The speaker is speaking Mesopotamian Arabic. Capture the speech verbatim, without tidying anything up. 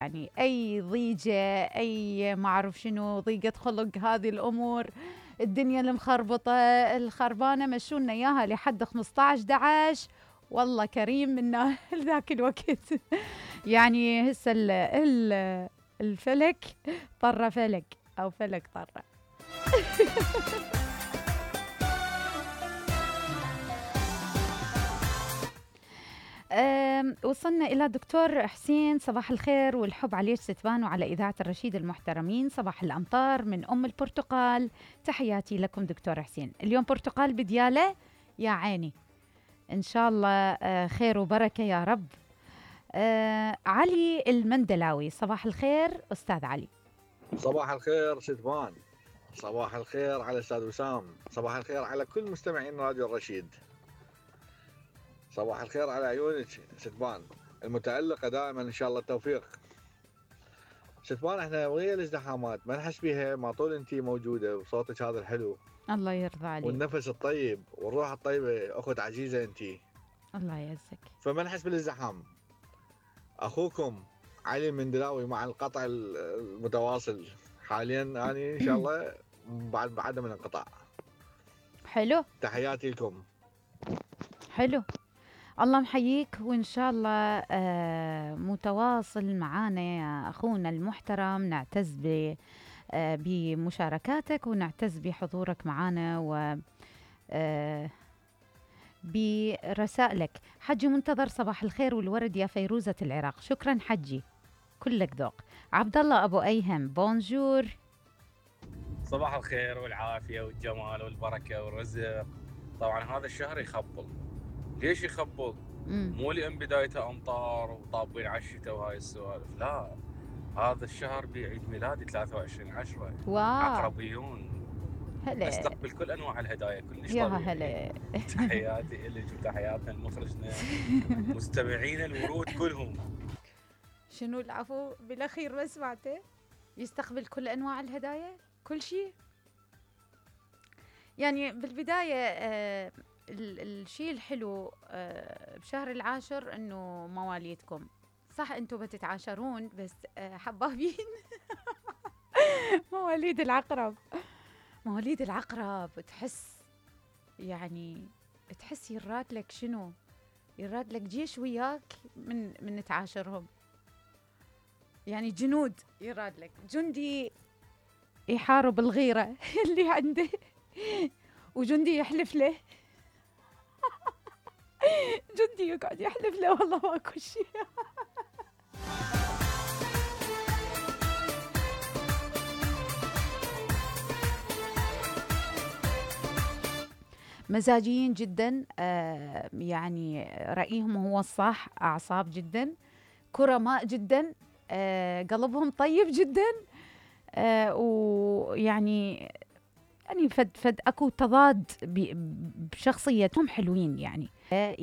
يعني أي ضيجة، أي ما أعرف شنو، ضيقة خلق، هذه الأمور، الدنيا المخربطة الخربانة مشونا إياها لحد خمسة عشر أحد عشر. والله كريم منا ذاك الوقت. يعني هسه ال ال الفلك طرة فلك أو فلك طرة. وصلنا إلى دكتور حسين. صباح الخير والحب عليك ستبان وعلى إذاعة الرشيد المحترمين. صباح الأمطار من أم البرتقال، تحياتي لكم دكتور حسين. اليوم برتقال بديالة يا عيني، إن شاء الله خير وبركة يا رب. آه علي المندلاوي، صباح الخير أستاذ علي. صباح الخير ستبان، صباح الخير على أستاذ وسام، صباح الخير على كل مستمعين راديو الرشيد، صباح الخير على عيونك ستبان المتألقة دائما إن شاء الله التوفيق. ستبان احنا ويا الازدحامات ما نحس بيها ما طول انتي موجودة وصوتك هذا الحلو، الله يرضى عليك، والنفس الطيب والروح الطيبة، أخت عزيزة انتي، الله يعزك، فما نحس بالازدحام. أخوكم علي المندلاوي مع القطع المتواصل حاليا، أنا إن شاء الله بعد بعدم الانقطاع. حلو، تحياتي لكم. حلو، الله محييك، وإن شاء الله آه متواصل معانا يا أخونا المحترم. نعتز ب آه بمشاركاتك ونعتز بحضورك معانا و آه برسائلك. حجي منتظر، صباح الخير والورد يا فيروزة العراق. شكرا حجي، كلك ذوق. عبد الله أبو أيهم، بونجور. صباح الخير والعافية والجمال والبركة والرزق. طبعا هذا الشهر يخبل. ليش يخبل؟ مو لأن بدايته أمطار وطابين على الشتاء وهاي السوالف، لا، هذا الشهر بعيد ميلادي ثلاثة وعشرين عشرة. عقربيون، هلا استقبل كل أنواع الهدايا كلش يا طبيعي. هلا. تحياتي إلك وتحياتنا لمخرجنا مستمعين الورود كلهم. شنو العفو بالأخير ما سمعته؟ يستقبل كل أنواع الهدايا، كل شيء. يعني بالبداية آه الشيء الحلو آه بشهر العاشر انه مواليدكم، صح انتم بتتعاشرون بس آه حبابين. مواليد العقرب، مواليد العقرب تحس يعني تحس يراد لك شنو، يراد لك جيش وياك من من تعاشرهم، يعني جنود يراد لك، جندي يحارب الغيرة اللي عنده وجندي يحلف له. جندي يقعد يحلف له والله ماكو شيء. مزاجيين جدا، آه يعني رأيهم هو الصح، أعصاب جدا، كرماء جدا، آه قلبهم طيب جدا، آه ويعني يعني فد فد اكو تضاد بشخصيتهم حلوين يعني.